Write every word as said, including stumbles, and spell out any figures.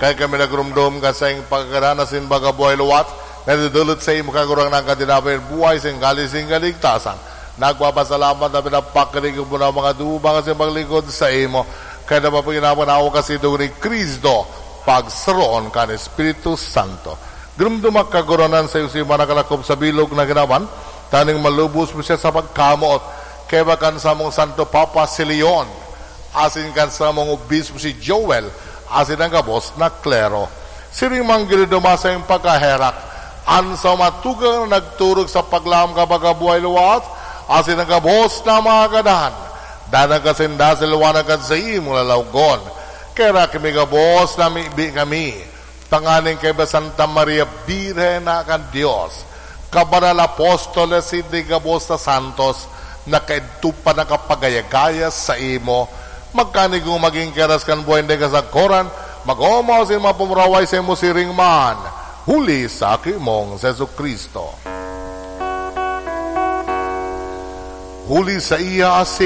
Kaya kami nagrumdom ka sa iyong pagkaganahan asin baga buhay liwat, na dudulot sa imo kagurang ng katinapay buhay sa iyong kalising kaligtasan. Nagpapasalamat na pinapakilig mo na mga duba kasi maglingkod sa imo. Kaya napapaginawa na ako kasi doon ni Kristo, pagsaroon kan Espiritu Santo. Grumduma kagurangnan sa iyong simana kalakop sa bilog na ginawan, taning malubos mo siya sa pagkamot. Kaya ba kan samong Santo Papa si Leon, asin kan samong obispo si Joel, asin ang gabos na klero. Siring man ginidumasay ang pagkaherak, an sa matugang na nagturog sa paglaom ka pagkabuhay liwat, asin ang gabos na mga kadahan. Danag ka sinda sa liwanag kan sa imong lalawgon. Kaya kimi gabos na mibi kami, tanganing kay Santa Maria Birhen na kan Dios, kabanal apostoles, sindi gabos na santos, na kaidto pa nakapagayagaya sa imo, magkanigong magin keras kan buhay na kasagkoran, mag-omaw sin mapumuraway sa imo siring man, huli sa aki mong si Jesu-Cristo. Huli sa iya asin